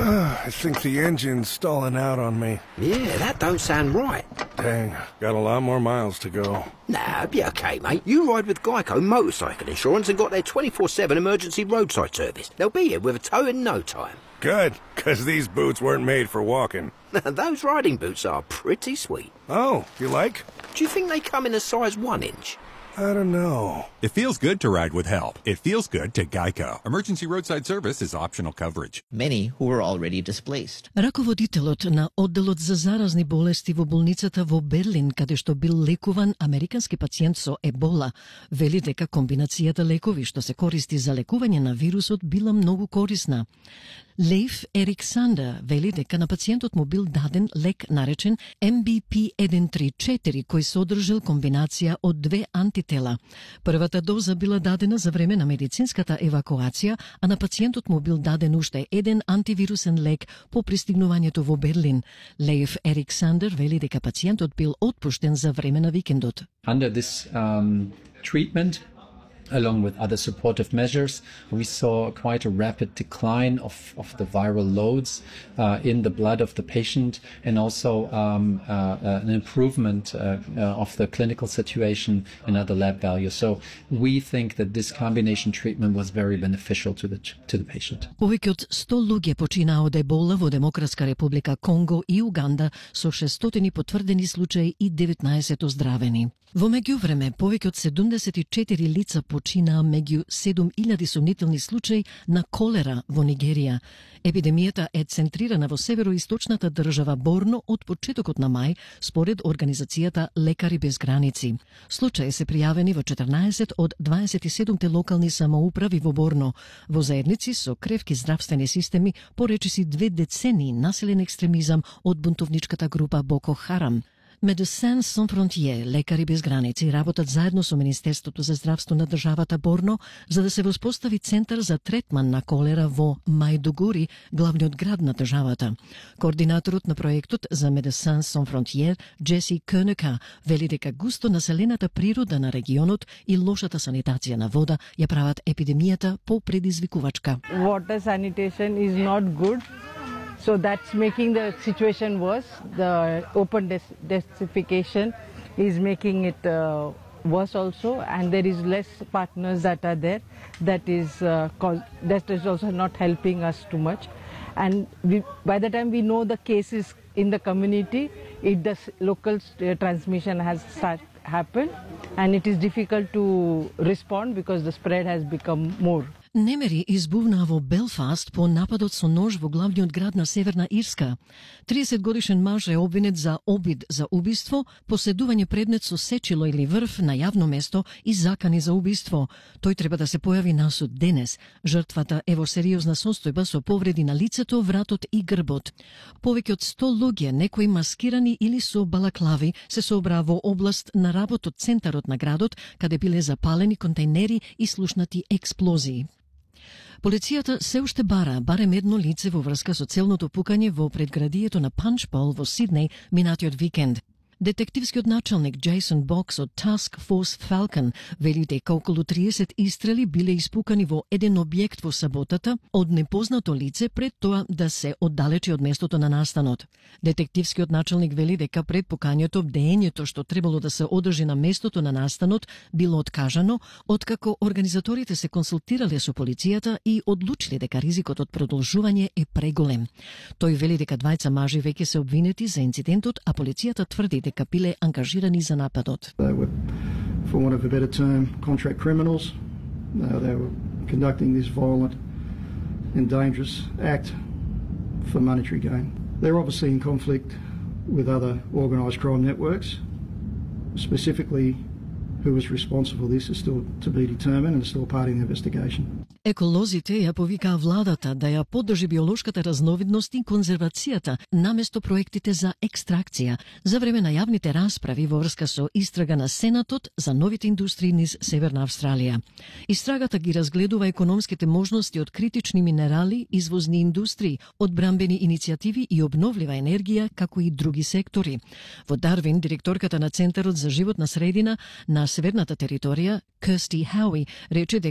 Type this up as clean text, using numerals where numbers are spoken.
I think the engine's stalling out on me. Yeah, that don't sound right. Dang, got a lot more miles to go. Nah, be okay, mate. You ride with Geico Motorcycle Insurance and got their 24/7 emergency roadside service. They'll be here with a tow in no time. Good, because these boots weren't made for walking. Those riding boots are pretty sweet. Oh, you like? Do you think they come in a size 1 inch? I don't know. It feels good to ride with help. It feels good to Geico. Emergency roadside service is optional coverage. Many who were already displaced. Раководителот на одделот за заразни болести во болницата во Берлин, каде што бил лекуван американски пациент со ебола, вели дека комбинацијата лекови што се користи за лекување на вирусот била многу корисна. Leif Eriksander вели дека на пациентот му бил даден лек наречен MBP-134, кој содржал комбинација од 2 антитела. Првата доза била дадена за време на медицинската евакуација, а на пациентот му бил даден уште еден антивирусен лек по пристигнувањето во Берлин. Leif Eriksander вели дека пациентот бил отпуштен за време на викендот. Under this treatment, along with other supportive measures, we saw quite a rapid decline of the viral loads in the blood of the patient, and also an improvement of the clinical situation and other lab values. So we think that this combination treatment was very beneficial to the patient. Повеќе од 100 луѓе починаа од ебола во Демократска република Конго и Уганда, со 600 потврдени случаи и 19 оздравени. Во меѓувреме, повеќе од 74 лица починаа меѓу 7000 сомнителни случаи на колера во Нигерија. Епидемијата е центрирана во североисточната држава Борно од почетокот на мај, според организацијата Лекари без граници. Случаи се пријавени во 14 од 27 локални самоуправи во Борно, во заедници со кревки здравствени системи по речиси 2 децении населен екстремизам од бунтовничката група Боко Харам. Médecins Sans Frontières, лекари без граници, работат заедно со Министерството за здравство на државата Борно за да се воспостави центар за третман на колера во Мајдугури, главниот град на државата. Координаторот на проектот за Médecins Sans Frontières, Джеси Кöneka, вели дека густо населената природа на регионот и лошата санитација на вода ја прават епидемијата попредизвикувачка. Water sanitation is not good. So that's making the situation worse. The open desertification is making it worse also, and there is less partners that are there. That is also not helping us too much. And by the time we know the cases in the community, the local transmission has happened, and it is difficult to respond because the spread has become more. Немери избувнаа во Белфаст по нападот со нож во главниот град на Северна Ирска. 30-годишен маж е обвинет за обид за убиство, поседување предмет со сечило или врв на јавно место и закани за убиство. Тој треба да се појави на суд денес. Жртвата е во сериозна состојба со повреди на лицето, вратот и грбот. Повеќе од 100 луѓе, некои маскирани или со балаклави, се собраа во област на работот центарот на градот, каде биле запалени контейнери и слушнати експлозии. Полицијата се уште барем едно лице во врска со целното пукање во предградието на Панчпол во Сиднеј минатиот викенд. Детективскиот началник Джейсон Бокс од Task Force Falcon вели дека околу 30 истрели биле испукани во еден објект во саботата од непознато лице пред тоа да се оддалечи од местото на настанот. Детективскиот началник вели дека пред пукањето бдеењето што требало да се одржи на местото на настанот било откажано, откако организаторите се консултирале со полицијата и одлучиле дека ризикот од продолжување е преголем. Тој вели дека двајца мажи веќе се обвинети за инцидентот, а полицијата тврди дека биле ангажирани за нападот. They were, for want of a better term, contract criminals. They were conducting this violent and dangerous act for monetary gain. They're obviously in conflict with other organised crime networks. Specifically, who was responsible for this is still to be determined and is still part of the investigation. Еколозите ја повикаа владата да ја поддржи биолошката разновидност и конзервацијата наместо проектите за екстракција за време на јавните расправи во врска со истрага на Сенатот за новите индустрии низ Северна Австралија. Истрагата ги разгледува економските можности од критични минерали, извозни индустрии, одбранбени иницијативи и обновлива енергија, како и други сектори. Во Дарвин, директорката на Центарот за животна средина на Северната територија, Kirsty Howie, рече дека